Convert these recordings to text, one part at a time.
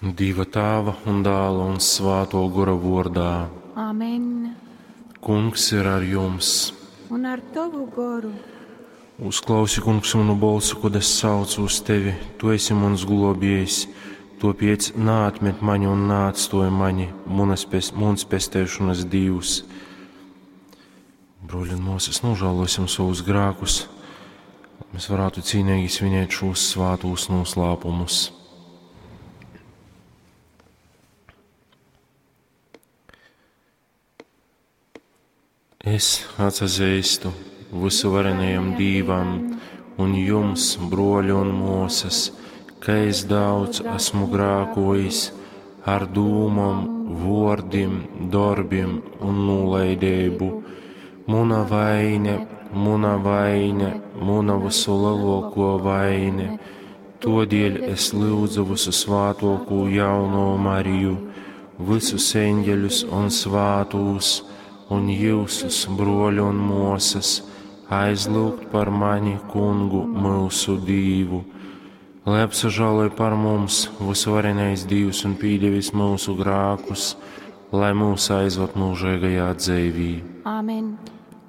Dieva Tēva un Dēla un Svēto Gora vārdā. Amen. Kungs ir ar jums. Un ar tavu goru. Uzklausi, kungs, manu balsu, kad es saucu uz tevi. Tu esi mans globiejs. Tāpēc neatmet mani un neatstoj mani, munas, pes, muns pestēšanas Dievs. Broļi un māsas, nožēlosim savus grēkus, lai mēs varētu cīnīgi svinēt šos svētos noslēpumus. Es atsazīstu visuvarenajam Dīvam un jums, broļi un māsas, ka es daudz esmu grēkojis ar dūmom, vārdiem, darbiem un nolaidību. Muna vaine, muna vaine, muna visu lielāko vaine. Todēļ es lūdzu visu svātoko jauno Mariju, visus eņģeļus un svātūs, un jūsus, broļi un māsas, aizlūgt par mani, kungu, mūsu Dīvu. Lai apsažāloj par mums visvarenais Dievs un pīdevis mūsu grākus, lai mūs aizved mūžīgajā dzīvī. Amen.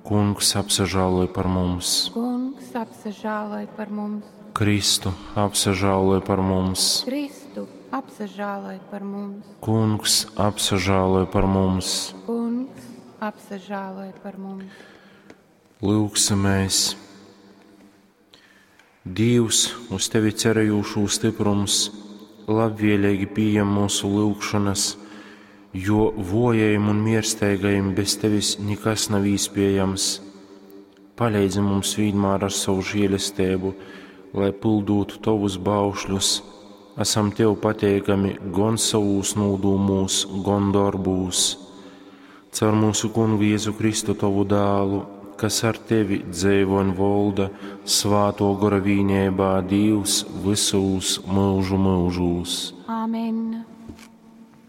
Kungs apsažāloj par mums, Kungs apsažāloj par mums. Kristu apsažāloj par mums, Kristu apsažāloj par mums. Kungs apsažāloj par mums. Kungs apsažāloj par mums. Lūksimies! Dievs, uz tevi cerējušo stiprums, labvēlīgi pieņem mūsu lūgšanas, jo vojajiem un miersteigajiem bez tevis nekas nav iespējams. Palīdzi mums vienmēr ar savu žēlastību, lai pildītu tavus baušļus. Esam tev pateikami gan savūs nodūmūs, gan darbūs. Caur mūsu kungu Jēzu Kristu tavu dēlu, kas ar tevi dzīvo un valda svāto gora vīnībā Dievs visos mūžu mūžos. Amen.